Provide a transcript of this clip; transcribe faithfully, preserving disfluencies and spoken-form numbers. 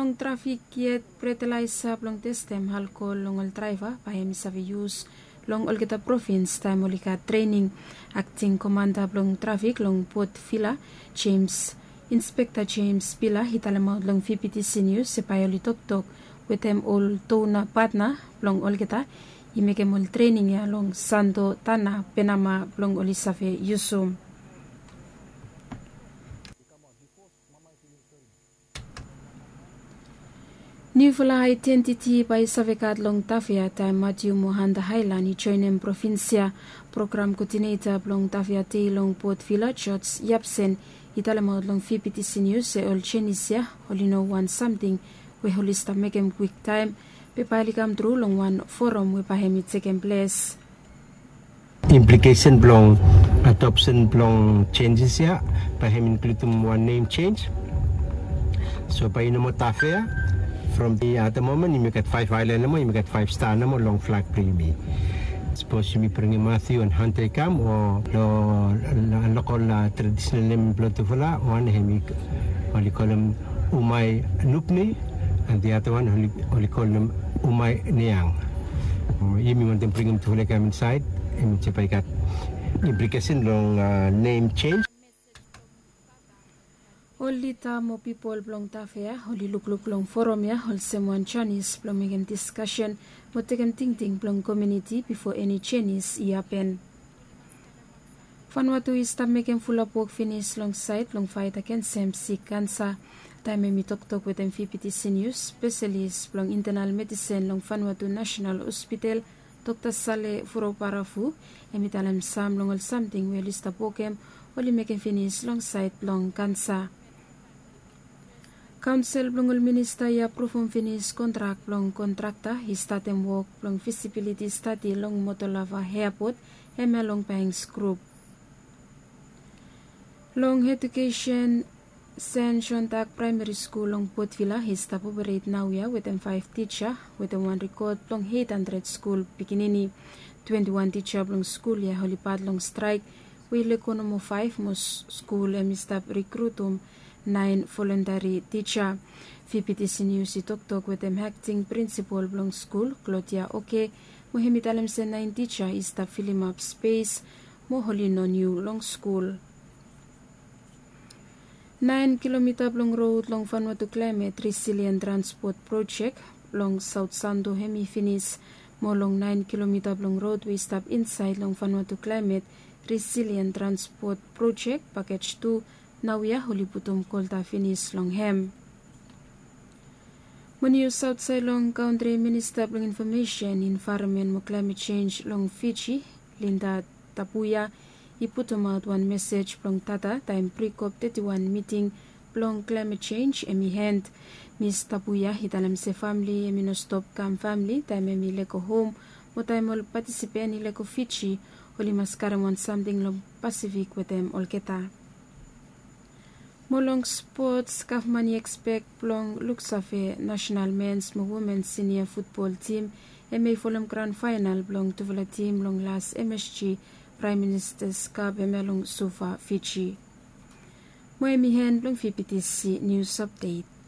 Long trafik yet, fetalaesa blong testem alkol long ol draeva bae hem i save yus long olgeta provins taem oli gat trening. Akting komanda blong trafik long Port Vila, Jems, Inspekta Jems Bila, i talemaot long VBTC Nius se bae oli toktok wetem ol dona patna blong olgeta i mekem ol trening ya long Santo Tana Penama blong oli save yusum. Niufala aedentiti bae i save gat long Tafea taem Matiu mo Hanta Haelan i joenem provins ya. Program koodineta blong Tafea Dei long Port Vila, George Yapsen, i talemaot long VBTC Nius se ol jenis ya oli no wan samting we oli stap mekem kwiktaem, be bae oli kamtru long wan foram we bae hem i tekem ples. Implikesen blong adopsen blong jenjes ya bae hem inkludim wan nem jenis. So bae i no moa Tafea. From the at the moment yumi gat faef aelan nomo, yumi gat faef sta nomo long flag blong yumi. Sapos yumi bringim Matiu and Hanta i kam o long lokol tradisonal nem blong tufala, wan hem oli kolem Umai Nupni, and the other one oli kolem Umai Niang. Yumi wantem bringim tufala i kam insaed. Hem i bae i gat implikesen long nem jenis. Ol lida mo pipol blong Tafea oli lukluk long foram ya olsem wan janis blong mekem diskasen mo tekem tingting blong komuniti bifo eni jenis i hapen. Vanuatu i stap mekem fulap wok finis long saed blong faet agensem sik kansa. Taem hem i toktok wetem VBTC Nius, spesalis blong intenal medisen long Vanuatu Nasenal Hospital, Dokta Sale Furouparafu, hem i talem sam long ol samting we oli stap wokem oli mekem finis long saed blong kansa. Kaonsel blong ol minista i apruvum finis kontrak blong kontrakta i statem wok blong fisibiliti stadi long Motolava Eapot, hemia long Banks Grup. Long ejukesen, Sen Jon Dak Praemeri Skul long Port Vila i stap operet naoia wetem faef tija wetem wan rekod blong eit handred skul pikinini. Twenti wan tija blong skul ya oli pat long straek we i lego nomo faef mo skul hem i stap rekrutum naen volontari tija. VBTC Nius i toktok wetem akting prinsipol blong skul, Klodia Oke, mo hem i talem se naen tija i stap filimap spes mo oli no niu long skul. Naen kilomita blong rod long Vanuatu Klaemet Risilien Transpot Projek long Saot Santo hem i finis, mo long naen kilomita blong rod we i stap insaed long Vanuatu Klaemet Risilien Transpot Projek pakej tu, naoia oli putum kolta finis long hem. Mo nius aotsaed long kantri, Minista blong Infomesen, Envaeronmen mo Klaemet Jenj long Fiji, Linda Tapuya, i putumaot wan mesej blong data taem prikop teti wan miting blong klaemet jenj hem i en. Mis Tapuya i talem se famle hem i no stop kam famle taem hem i lego hom, mo taem ol patisipen i lego Fiji, oli mas karem wan samting long Pasifik wetem olgeta. Mo long spots, gavman i ekspek blong luksave nasenal mens mo womens sinia futbol tim hemia i folem gran faenal blong tufala tim long las MSG Praem Ministas Kap hemia long Suva, Fiji. Mo hem i en blong VBTC Nius Apdet.